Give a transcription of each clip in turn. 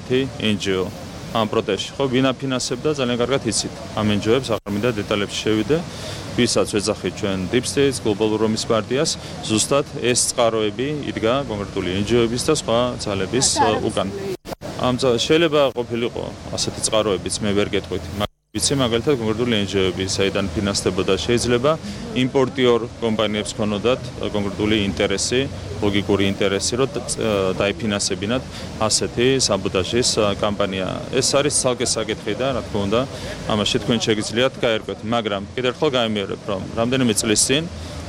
ერთ-ერთი NGO ამ პროტესტში. ხო, ვინ აფინანსებდა ძალიან კარგად იცით. ამ NGO-ებს აღარ მინდა დეტალებში შევიდე, ვისაც ვეძახით ჩვენ Deep State, გლობალურ რომის პარტიას, ზუსტად ეს წყაროები იდგა კონკრეტული NGO-ების და სხვა ძალების უკან. შეიძლება ყოფილიყო ასეთი წყაროებიც, მე ვერ გეტყვით. ვიცი მაგალითად კონკრეტული NGO-ები, საიდან ფინანსდებოდა, შეიძლება იმპორტიორ კომპანიებს ქონოდათ კონკრეტული ინტერესი, ლოგიკური ინტერესი, რომ დაიფინანსებინათ ასეთი საბოტაჟის კამპანია. ეს არის ცალკე საკითხი და რა თქმა უნდა, ამაში თქვენ შეგიძლიათ გაერკვეთ, მაგრამ კიდევ ერთხელ გამიმეორებ, რომ რამდენიმე წლის წინ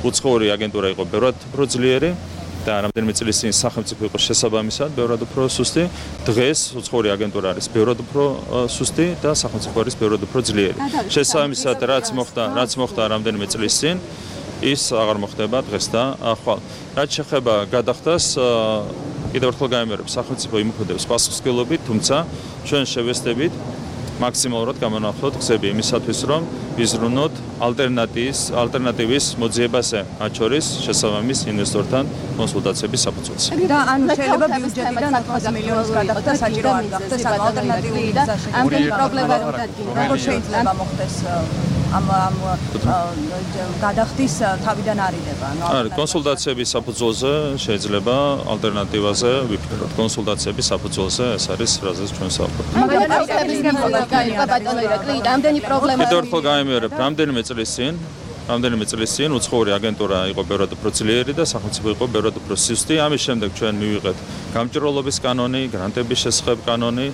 უცხოური აგენტურა იყო ბევრად უფრო ძლიერი და რამდენიმე წლის წინ სახელმწიფო იყო შესაბამისად ბევრად უფრო სუსტი. დღეს უცხოური აგენტურა არის ბევრად უფრო სუსტი და სახელმწიფო არის ბევრად უფრო ძლიერი. შესაბამისად, რაც მოხდა რამდენიმე წლის წინ, ის აღარ მოხდება დღეს და ახვალ. რაც შეეხება გადახდას, კიდევ ერთხელ გამიმეორებ, სახელმწიფო იმოქმედებს პასუხისმგებლობით, თუმცა ჩვენ შევესწრებით მაქსიმალურად გამონახოთ გზები იმისათვის, რომ ვიზრუნოთ ალტერნატივის მოძიებაზე, მათ შორის შესაბამის ინვესტორთან კონსულტაციების საფუძველზე. და ანუ შეიძლება ბიუჯეტიდან 400 მილიონის გადახდა საჭირო არ გახდეს, ანუ ალტერნატიული ამდენი პრობლემა რომ დადგინდა. როგორ შეიძლება მოხდეს ამ გადახდის თავიდან არიდება, ანუ კონსულტაციების საფუძველზე შეიძლება ალტერნატივაზე ვიფიქროთ. კონსულტაციების საფუძველზე ეს არის რაზეც ჩვენ საუბრობთ. ამდენი პრობლემა. კიდევ ერთხელ გამიმეორებ, რამდენიმე წლის წინ უცხოური აგენტურა იყო ბევრად უფრო ძლიერი და სახელმწიფო იყო ბევრად უფრო სუსტი. ამის შემდეგ ჩვენ მივიღეთ გამჭვირვალობის კანონი, გრანტების შესახებ კანონი,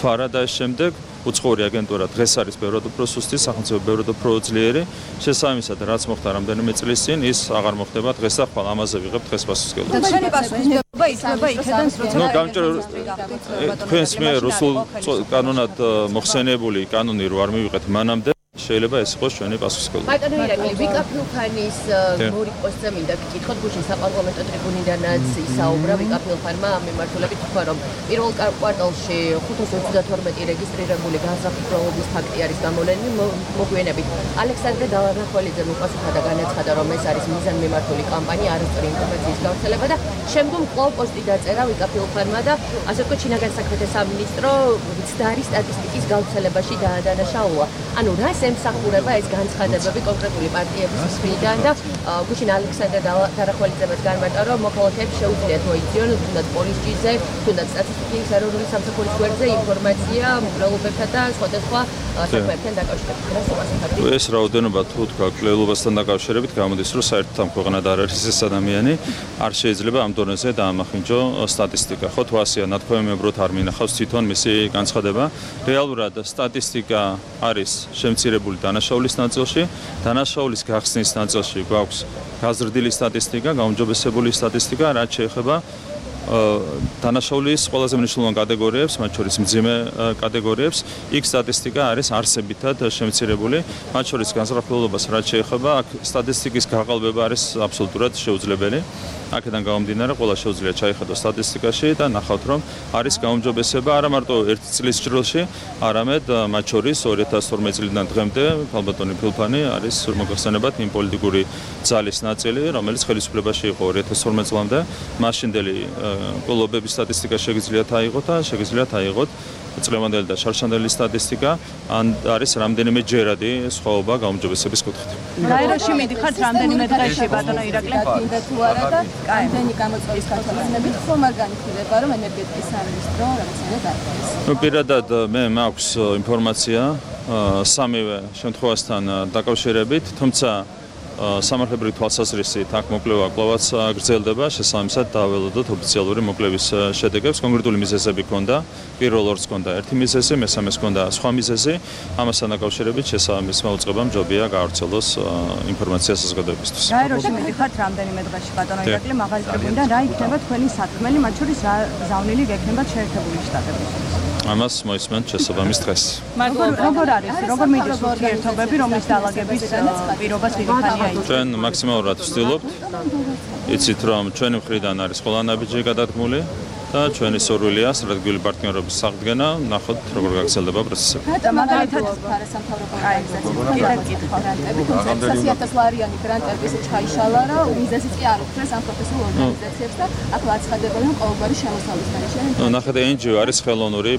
ფარა და ეს შემდეგ უცხოური აგენტურა დღეს არის ბევრად უფრო სუსტი, სახელმწიფო ბევრად უფრო ძლიერი. შესაბამისად, რაც მოხდა რამდენიმე წლის წინ, ის აღარ მოხდება დღეს და ხვალ ამაზე ვიღებთ დღეს პასუხისმგებლობას. ჩვენი პასუხისმგებლობა იქნება იქიდან, როცა თქვენს მიერ რუსულ კანონად მოხსენებული კანონი რო არ მივიღეთ მანამდე, შეიძლება ეს იყოს ჩვენი პასუხისმგებლობა. ბატონო ირაკლი, ვიკა ფილფანის მორი პოსტზე მინდა გკითხოთ, გუშინ საპარლამენტო ტრიბუნიდანაც ისაუბრა ვიკა ფილფანმა ამ მიმართულებით, თქვა რომ პირველ კვარტალში 532 რეგისტრირებული განსაკუთრებობის ფაქტი არის გამოვლენილი. მოგვიანებით ალექსანდრე დალარახველიძემ უპასუხა და განაცხადა, რომ ეს არის მიზანმიმართული კამპანია, არასწორი ინფორმაციის გავრცელება და შემდგომ კვლავ პოსტი დაწერა ვიკა ფილფანმა და ასე ვთქვათ, ჩინაგან საქმეთა სამინისტრო მცდარი სტატისტიკის გავრცელებაში დაადანაშაულა. ანუ რას ემსახურება ეს განცხადებები კონკრეტული პარტიების მხრიდან და გუშინ ალექსანდრე დალარახველიძემაც განმარტა, რომ მოქალაქეებს შეუძლიათ მოიციან თუნდაც პოლიციაზე, თუნდაც სტატისტიკის ეროვნული სამსახურის გვერდზე ინფორმაცია მკვლელობებთან და სხვადასხვა საქმეებთან დაკავშირებით. ეს რაოდენობა თუ თქვა მკვლელობასთან დაკავშირებით გამოდის, რომ საერთოდ ამ ქვეყანად არ არის ეს ადამიანი, არ შეიძლება ამ დონეზე დაამახინჯო სტატისტიკა. ხო თუ ასეა, ნათქვამებად არ მინახავს თვითონ მისი განცხადება. რეალურად სტატისტიკა არის შემცირებული დანაშაულის ნაწილში, დანაშაულის გახსნის ნაწილში გვაქვს გაზრდილი სტატისტიკა, გაუმჯობესებული სტატისტიკა, რაც შეეხება დანაშაულის ყველაზე მნიშვნელოვან კატეგორიებს, მათ შორის მძიმე კატეგორიებს, იქ სტატისტიკა არის არსებითად შემცირებული, მათ შორის განსაკუთრებულობას რაც შეეხება, აქ სტატისტიკის გაყალბება არის აბსოლუტურად შეუძლებელი. აქედან გამომდინარე, ყველა შეუძლია ჩაიხედოს სტატისტიკაში და ნახავთ, რომ არის გაუმჯობესება არა მარტო ერთ წლის ჭრილში, არამედ მათ შორის 2012 წლიდან დღემდე ქალბატონი ფილფანი არის მოგახსენებათ იმ პოლიტიკური ძალის ნაწილი, რომელიც ხელისუფლებაში იყო 2012 წლამდე. მაშინდელი მკვლელობების სტატისტიკა შეგიძლიათ აიღოთ და შეგიძლიათ აიღოთ წლევანდელი და შარშანდელი სტატისტიკა, ან არის რამდენიმე ჯერადი სხვაობა გაუმჯობესების კუთხით. გაეროში მიდიხართ რამდენიმე დღეში ბატონო ირაკლი? გინდა თუ არა და ამდენი გამოწვევის გათვალისწინებით ხომ არ განიხილება, რომ ენერგეტიკის სამინისტრო რაღაცნაირად არ არის. პირადად მე მაქვს ინფორმაცია სამივე შემთხვევასთან დაკავშირებით, თუმცა სამართლებრივი თვალსაზრისით აქ მოკვლევა კვლავაც გრძელდება, შესაბამისად დაველოდოთ ოფიციალური მოკვლევის შედეგებს. კონკრეტული მიზეზები ჰქონდა, პირველ ორს ჰქონდა ერთი მიზეზი, მესამეს ჰქონდა სხვა მიზეზი. ამასთან დაკავშირებით შესაბამის მოუწყებამ ჯობია გაავრცელოს ინფორმაცია საზოგადოებისთვის. გაეროში მიდიხართ რამდენიმე დღეში ბატონო ირაკლი, მაღალი ტრიბუნიდან რა იქნება თქვენი საქმელი, მათ შორის რა ზავნილი გექნებათ შეერთებული შტატებისთვის? ამას მოისმენთ შესაბამის დღეს. როგორ არის, როგორ მიდის ურთიერთობები, რომლის დაალაგების პირობას ვიღებანია? ჩვენ მაქსიმალურად ვცდილობთ. იცით, რომ ჩვენი მხრიდან არის ყველა ნაბიჯი გადადგმული და ჩვენი სურვილია სტრატეგიული პარტნიორობის აღდგენა, ნახოთ როგორ გაგრძელდება პროცესები. მაგალითად არასამთავრობო ორგანიზაციები გრანტები, თუმცა 100,000 ლარიანი გრანტების ჩაიშალა რა, მიზეზიც კი არ უხსნეს ამ პროფესიულ ორგანიზაციებს და აქ აცხადებენ, რომ ყოველგვარი შემოსავლის გარეშე. ნახეთ, NGO არის ხელოვნური